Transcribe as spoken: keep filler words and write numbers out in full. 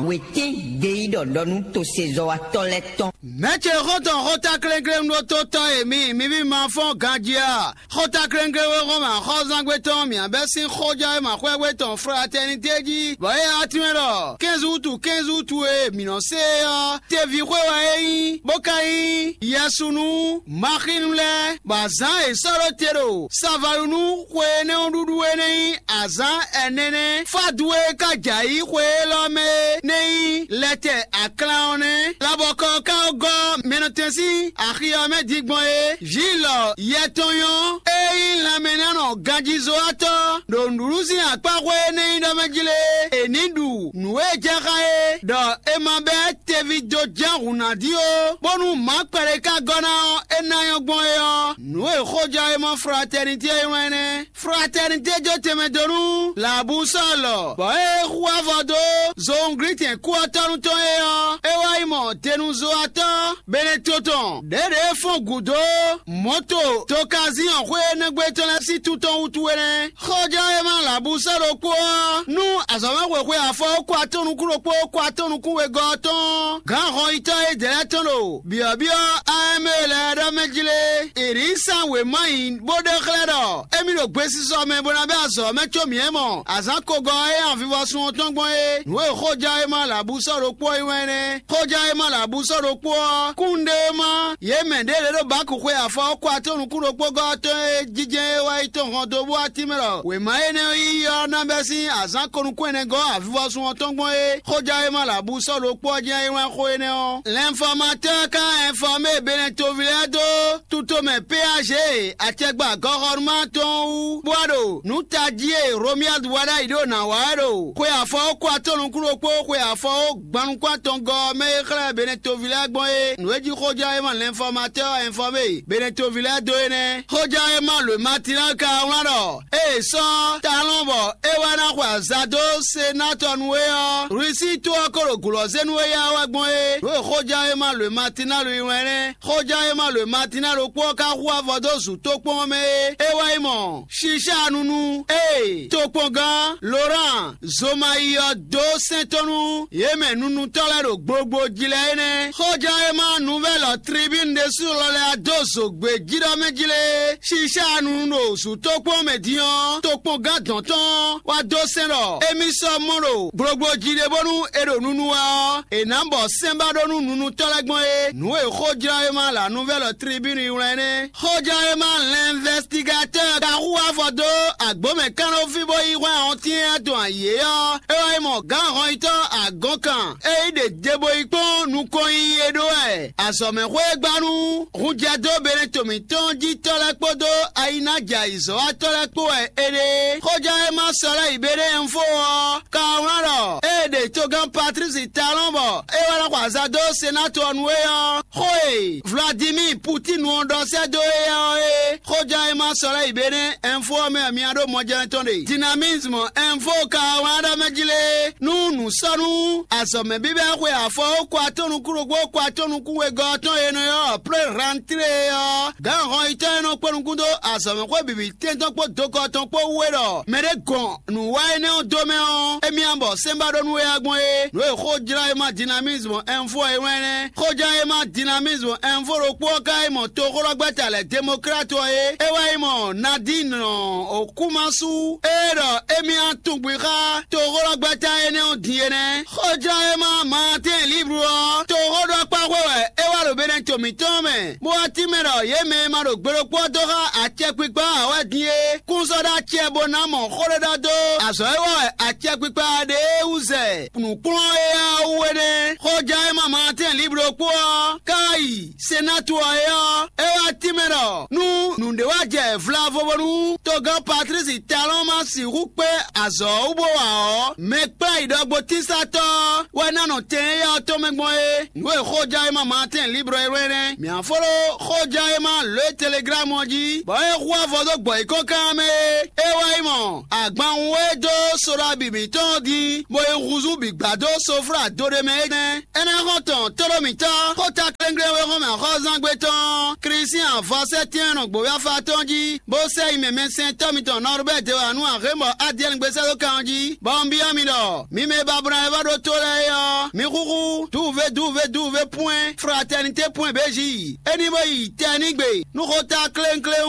Wětín gbeyíɖɔ ɖɔ nú tosezɔ́watɔ́ lɛ́ɛ tɔn. Mɛ̌ ce xɔ́ntɔn xótáklɛ́nklɛ́n ɖó tó tɔn e mi, mi ví ma fɔ́n ganjí a? Xótáklɛ́nklɛ́n wé xɔ́n mɛ axɔ́zángbé tɔn mǐ bɛ́ sín xójɔ́ e ma xwɛ́gbé tɔn fratɛnité jí, bɔ é ɔ́ tínmɛ ɖɔ kɛ́nzú wútu kɛ́nzú wútu e mǐ nɔ se é ɔ́, teví xwé wɛ é nyí, bó ka nyí yɛsu nú Maxínu lɛ́ɛ, bɔ azǎn e è sɔ́ ɖó te ɖo Savalunu xwe énɛ́ ɔ́ ɖuɖu é nɛ́ nyí azǎn ɛnɛ nɛ́. Fádu e ka jɛ ayǐ xwe élɔ́ mɛ é nɛ́ nyí lɛtɛ aklan ɔ́ nɛ́. Labɔkɔ ɔ́ ka gɔ́ mɛnɔtɛn sín axi ɔ́ mɛ din gbɔn é. Vǐ lɔ yɛ tɔn nyɔ́, é nyí lanmɛnánɔ ganjízɔ́watɔ́ ɖo nǔɖuɖu sín akpá xwe énɛ́ nyí ɖɔ mɛ jí lé. È nǐ ɖu nǔ e jɛ xá é, ɖɔ è ma bɛ́ teví dó ján hǔn ná dí ó, bónú mǎ kpɛɖé ka gɔ́ ná ɔ́, é ná nyɔ́ gbɔn é ɔ́, nǔ e xójɔ́ e mɔ fratɛnitě é wlán nɛ́. Fratɛnitě jó tɛnmɛ dó nú Labusɔ́ɔlɔ, bɔ é xú avɔ dó zowunglítɛn kú ɔ́ tɔ́ nú tɔn é ɔ́, é wá yi mɔ denuzɔ́watɔ́ Beneto tɔn ɖěɖě e fɔ́n gǔdo mɔ̌to tokaziɔn xwé énɛ́ gbe tɔn lɛ́ɛ sín tún tɔn wútu é nɛ́. Xɔjɔ́ e ma Labusɔ́ ɖokpó ɔ́, nú azɔ̌mɛxwexwe afɔ kó atɔ́ nukún ɖokpó kó atɔ́ nukún wegɔ́ ɔ́ tɔn gǎn hɔnyitɔ́ e dɛ̌ lɛ́ɛ tɔn ɖo byɔ̌byɔ́ Amɛ́ɛ lɛ́ɛ ɖɔ mɛ jí lé. È nǐ sán wěma nyi bó ɖe xlɛ́ ɖɔ émí ɖo gbesisɔ mɛ bó ná bɛ́ azɔ̌ mɛ có mǐ é mɔ azǎn kogɔ́ e avivɔsun ɔ́ tɔn gbɔn é. Nǔ e xójá e ma Labusɔ́ ɖokpó ɔ́ nyí wɛn nɛ́. Xójá e ma Labusɔ́ ɖokpó ɔ́, kúnnuɖewéma yě mɛ ɖě lě ɖo Baku xwe afɔ kó atɔ́ nukún ɖokpó gɔ́ ɔ́ tɔn e jijɛ e wá yi tɔn hɔn dó bó wá tínmɛ ɖɔ wěma énɛ́ ɔ́ yíyí ɔ́ ná bɛ́ sín azǎn ko nukún ɛnɛ gɔ́ avivɔsun ɔ́ tɔn gbɔn é. Xójá e ma Labusɔ́ ɖokpó ɔ́ jɛ́n é wlán xó énɛ́ ɔ́. L'informateur ka informé Benetoville lɛ́ɛ dó tutomɛ P A G acɛgba gɔxɔnuma tɔn wú, bó wá ɖo nǔ tají e Romuald wa ɖ'ayǐ ɖo nǎ wa wɛ ɖo xwe afɔ kó atɔ́ nukún ɖokpó xwe afɔ gban nukún atɔngɔ́ ɔ́ mɛ e xlɛ́ Benetoville lɛ́ɛ gbɔn é. Nǔ e jí xójɔ́ e ma l'informateur informé Benetoville lɛ́ɛ dó é nɛ́. Xójɔ́ e ma lǒ Matinal ka wlán ɖɔ ée sɔ́ talɔn bɔ é wá ná xwe azǎn dó Senatɔ nu é ɔ́, Rusi to ɔ́ ko ɖo gǔlɔ́zénu éya wɛ gbɔn é. Nǔ e xójá e ma lǒ Matinal yi wɛn nɛ́. Xójá e ma lǒ Matinal ɖokpó ɔ́ ka hu avɔ dó zǔ tó kpɔ́n mɛ é. É wá yi mɔ Shisha nunu, ée tokpɔngán Loran Zomayi ɔ́ dó sɛn tɔn nú yě mɛ nunutɔ́ lɛ́ɛ ɖo gbogbo jí lɛ́ɛ é nɛ́. Xójá e ma nuvɛ́lɔ tribínu ɖésú lɔ lɛ́ɛ dó zǒgbé jí ɖɔ mɛ jí lé. Shisha nunu ɖo zǔ tó kpɔ́n mɛ din ɔ́, tokpɔngán dɔn tɔn wá dó sɛn ɖɔ émí sɔ́ mɔ ɖo gblogblo jí ɖé bónú è ɖo nunu wɛ ɔ́, è nǎ bɔ sɛ́n ba ɖó nú nunutɔ́ lɛ́ɛ gbɔn é. Nǔ e xó jlá é ma la nuvɛ́lɔ tribínu yi wlán nɛ́. Xójɔ́ e ma l'investigatɛ́ ka hu afɔ dó agbǒmɛ kannɔ́ fí bó yi hwɛ́n ɔ́ tínnyá tɔn ayǐ é ɔ́, é wá yi mɔ gǎn hɔnyitɔ́ agɔ̌nkan e yi ɖe debo yi kpɔ́n nukɔn yiyi é ɖó wɛ azɔ̌mɛxwé e gba nú hunjɛdó Beneto mǐtɔn jí tɔ́ lɛ́ɛ kpódó ayinájɛ ayǐzɔ́watɔ́ lɛ́ɛ kpó wɛ é ɖe. Xójɔ́ e ma sɔ lɛ́ yi Beɖéɛnfo ɔ́ ka wlán ɖɔ ée ɖe togán Patlísi Talɔ́n bɔ é wá ná xɔ azǎn dó Senátu ɔ́ nu é ɔ́, xó e Vladimir Putín ɔ́ ɖɔ sɛ́ dó éyɛ́ ɔ́ é. Xójɔ́ e ma sɔ lɛ́ yi Beɖéɛnfo ɔ́ mɛ wɛ mi ɖó mɔjɛ́nɛ́ tɔn ɖe. Dinamizmu Ɛnfo ka wlán ɖɔ mɛ jí lé nú nǔ sɔ́ nú azɔ̌mɛ bíbɛ́ xwe afɔ ó kó atɔ́ nukún ɖokpó kó atɔ́ nukún wegɔ́ ɔ́ tɔn e nɔ ylɔ́ Plé Rantlé ɔ́, gǎn hɔnyitɔ́ e nɔ kpé nukún dó azɔ̌mɛxwé bǐbí tɛ́ntɔ́ kpó dokɔ tɔn kpó wú é ɖɔ mɛɖé gɔn nǔ wa énɛ́ ɔ́ dó mɛ ɔ́, émí ná bɔ sɛ́n ba ɖó nú éyá gbɔn é. Nǔ e xó jlá e ma Dinamizmu Ɛnfo ɔ́ é wlán nɛ́. Xóján e ma Dinamizmu Ɛnfo ɖokpó ɔ́ ka yi mɔ toxóɖɔgbɛ́ta lɛ́ɛ Demoklátu ɔ́ é. É wá yi mɔ Nadín Okumasu e ɖɔ émí ná tunwun xá toxóɖɔgbɛ́ta énɛ́ ɔ́ din é nɛ́. Xóján e ma Maatɛ́n Liblu ɔ́, toxóɖɔkpá xwe wɛ é wá ɖo Beneto mǐtɔn mɛ, bó wá tínmɛ ɖɔ yě mɛ e ma ɖo gbe ɖokpó ɔ́ dó xá acɛkpikpa ǎ wɛ din é, kún sɔ́ ɖó acɛ bó ná mɔ xó ɖé ɖɔ dó azɔ̌ e wa wɛ acɛkpikpa ɖe é wú zɛ nǔkplɔ́n éyá ɔ́ wú é nɛ́. Xóján e ma Maatɛ́n Liblu ɖokpó ɔ́, ká yi Senátu ɔ́ é ɔ́, é wá tínmɛ ɖɔ nú nǔɖé wá jɛ vlavo bónú togán Patlísi Talɔ́n ma sixú kpé azɔ̌ ɔ́ wú bó wa ɔ́, mɛ kplá yi ɖɔgbotínsatɔ́ ɔ́ wɛ ná nɔ tɛn éyá ɔ́ tɔn mɛ gbɔn é. Nǔ e xóján e ma Maatɛ́n Liblu é wlɛ́n nɛ́. Mǐ á fó ɖó xóján e ma lǒ e Teleglámu ɔ́ jí, bɔ é hu avɔ dó gbɔ yi kɔ́ kan mɛ. É wá yi mɔ agbanwun e dó sóɖá bǐ mǐtɔn ɔ́ dín, bó yi húzú bǐ gbá dó soflá do ɖé mɛ é nɛ́. É ná xɔ́n tɔn tóɖó mǐtɔn xóta kléŋklén e xɔ́mɛ axɔ́zángbé tɔn ɔ́, Klísián vɔ sɛ́ tɛ́nnɔ gbǒyáfa tɔn jí, bó sɛ́ yi mɛ mɛsɛntɔ́ mitɔn Nɔrubɛ́ de wǎ nú Ahémɔ Adiɛ́ni gbé sɛ́ dó kan ɔ́ jí, bɔ un byɔ́ mi ɖɔ mi mɛ e ba bló ná wɛ vɔ́ ɖó tó lɛ́ɛ é ɔ́, mi xúxú dúuvé dúuvé dúuvé pwɛ́n fratɛnité pwɛ́n bějí. É ní bó yi tɛ ní gbe nú xóta kléŋkléŋ